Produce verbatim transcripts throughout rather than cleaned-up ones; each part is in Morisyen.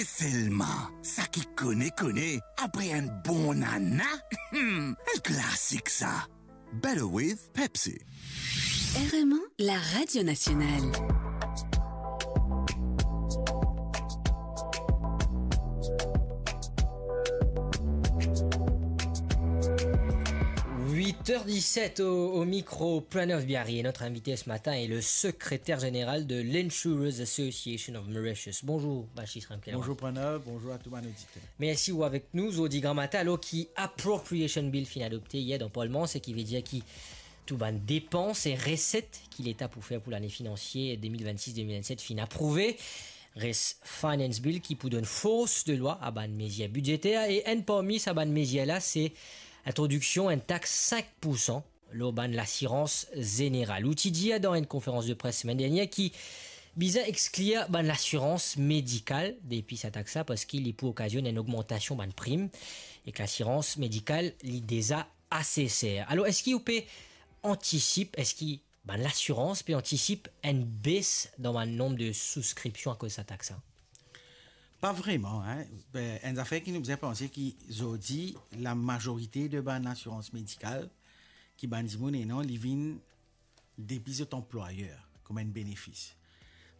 Selma, sa ki kone, kone, apre enn bon nana, hmm, enn klasik sa. Better with Pepsi. R M A, la radio nationale. Huit heures dix-sept au, au micro, Pranav Biari, et notre invité ce matin est le secrétaire général de l'Insurers Association of Mauritius. Bonjour, Bachis Ramkalawan. Bonjour Pranav, bonjour à tous nos auditeurs. Mersi ou avek nou. Zordi gramatin, alor ki Appropriation Bill finn adopte yer dan Parlman, seki vedir ki tou bann depans e reset ki leta pou fer pou lane finansie de mil vennsis de mil vennset finn aprouve. Res Finance Bill ki pou donn fors de lwa a bann mezir bidzeter, e enn parmi sa bann mezir la, se introdiksion enn tax sink poursan lor bann lasirans zeneral. Ou ti dir dan enn konferans de pres semenn dernier ki bizin exklir bann lasirans medikal depi sa tax la, parski li pou okazionn enn ogmantasion bann prim, ek lasirans medikal, li deza ase ser. Alor, eski ou pe antisip, eski bann lasirans pe antisip enn bes dan bann nonb de souskripsion akoz sa tax la? Pa vreman, hein. Be, enn zafer ki nou bizin panse ki zordi, lamazorite de bann lasirans medikal ki bann dimoun ena, li vinn depi zot anplwayer, kouma enn benefis.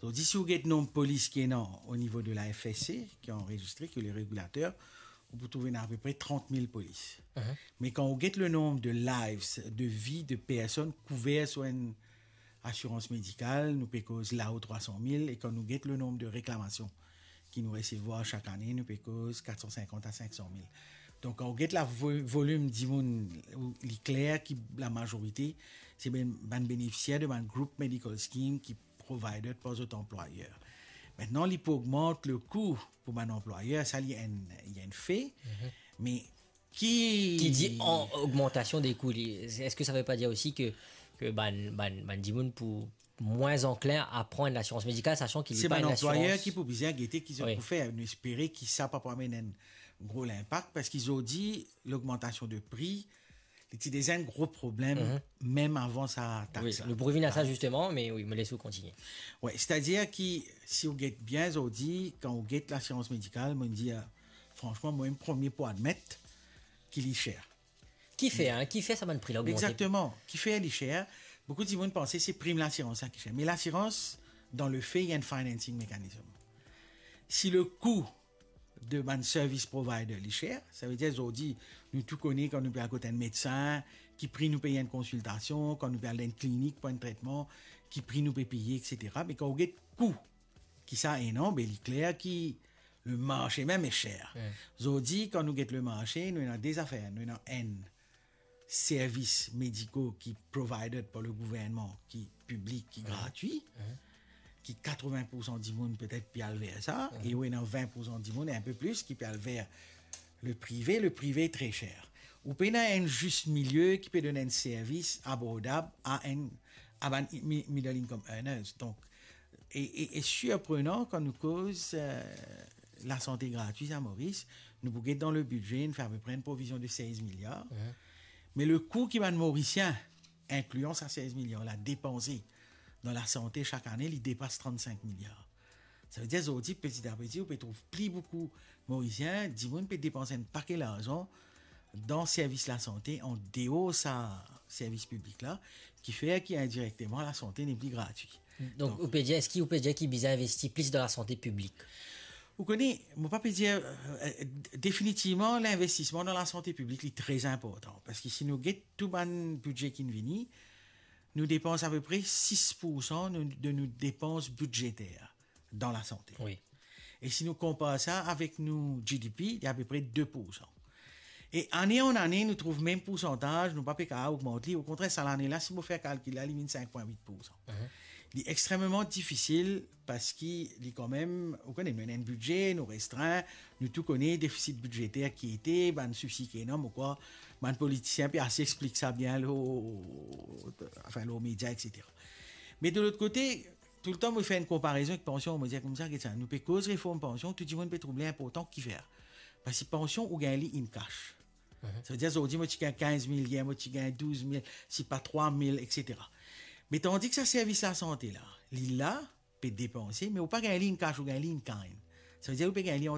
Zordi, si ou get nonb polis ki ena o nivo de la F S C, ki anrezistre, ki le regilater, ou pou trouv ena apepre trant mil polis. Mhm. Me kan ou get le nonb de lives, de vi de personn kouver sou enn asirans medikal, nou pe koz lao trwa san mil, e kan nou get le nonb de reklamasion ki nou resevwar sak ane, nou pe koz kat san sinkant a sink san mil. Donk, kan ou get la vo-, volim dimoun, ou, li kler ki lamazorite, se bann, bann benefisier de bann group medical scheme ki provided par zot anplwayer. Aster, li pou ogmant le kou pou bann anplwayer, sa li enn, li enn fe, mhm, me ki Ki dir an ogmantasion de kou, li, eski sa ve pa dir osi ke, ke bann, bann, bann dimoun pou mwin anklin a pran enn lasirans medikal, sasan ki li se pa bann enn anplwayer lasirans ki pou bizin gete ki zot, wi, pou fer. Nou espere ki sa pa pou amenn enn gro linpak, parski zordi, logmantasion de pri, li ti deza enn gro problem, mhm, mem avan sa tax la. Wi, nou pou revinn a sa, hein, zisteman, me wi, mo les ou kontigne. Wi, setadir ki, si ou get bien zordi, kan ou get lasirans medikal, mo dir, fransman, mwa mem premie pou admet ki li ser. Kifer, hein, kifer sa bann pri la ogmante? Exakteman. Kifer li ser? Boukou dimoun panse se prim lasirans la ki ser. Me lasirans, dan le fe, li enn financing mechanism. Si le kou de bann service provider li ser, savedir zordi, nou tou kone kan nou pe al kot enn medsin, ki pri nou pey enn konsiltasion, kan nou pe al dan enn klinik pou enn tretman, ki pri nou pe peye, et cetera. Me kan ou get kou ki sa ena, be li kler ki le marse mem li ser. Hmm. Zordi, kan nou get le marse, nou ena de zafer. Nou ena enn servis medikal ki provided par le gouvernman, ki piblik, ki, mhm, gratwi, mhm, ki katrovin poursan dimoun petet pe al ver sa, mhm, e ou ena vin poursan dimoun, enn pe plis, ki pe al ver le prive. Le prive tre ser. Ou pena enn zis milie ki pe donn enn servis abordab a enn, a bann mi-, middle income earners. Donk, e, e, e sirprenan kan nou koz, eh, lasante gratwi a Moris, nou pou get dan le bidze, nou fer apepre enn provizion de sez miliar. Mhm. Me le kou ki bann Morisien, inklian sa sez miliar la, depanse dan lasante sak ane, li depas trannsink miliar. Savedir zordi, peti a peti, ou pe trouv pli boukou Morisien, dimoun pe depanse enn pake larzan dan servis lasante, an deor sa servis piblik la, ki fer ki indirekteman lasante nepli gratwi. Donk, donk, ou pe dir, eski ou pe dir ki bizin investi plis dan lasante piblik? Ou kone, mo pa pe dir, eh, definitivman, linvestisman dan lasante piblik, li tre inportan. Parski si nou get tou bann bidze ki'nn vini, nou depans apepre sis poursan nou, de nou depans bidzeter dan lasante. Wi. E si nou konpar sa avek nou G D P, li apepre de poursan. E ane an ane, nou trouv mem poursantaz, nou pa pe kapav ogmant li. Okontrer, sa lane la, si mo fer kalkil la, li vinn sink pwin wit poursan. Mhm. Li extrememan difisil parski li kanmem, ou kone, nou ena enn bidze, nou restrin, nou tou kone defisit bidzeter ki ete, bann sousi ki ena, mo krwar bann politisien pe ase explik sa bien lor, anfin, lor media, et cetera. Me de lot kote, toultan mo fer enn konparezon ek pansion, mo dir koumsa, get sa, nou pe koz reform pansion, tou dimoun pe trouv li inportan, kifer? Parski pansion, ou gagn li in cash. Mhm. Savedir, zordi, mo ti gagn kinz mil, yer, mo ti gagn douz mil, sipa trwa mil, et cetera. Me tandis ki sa servis lasante la, li la, pe depanse, me ou pa gagn li in cash, ou gagn li in kind. Savedir ou pe gagn li an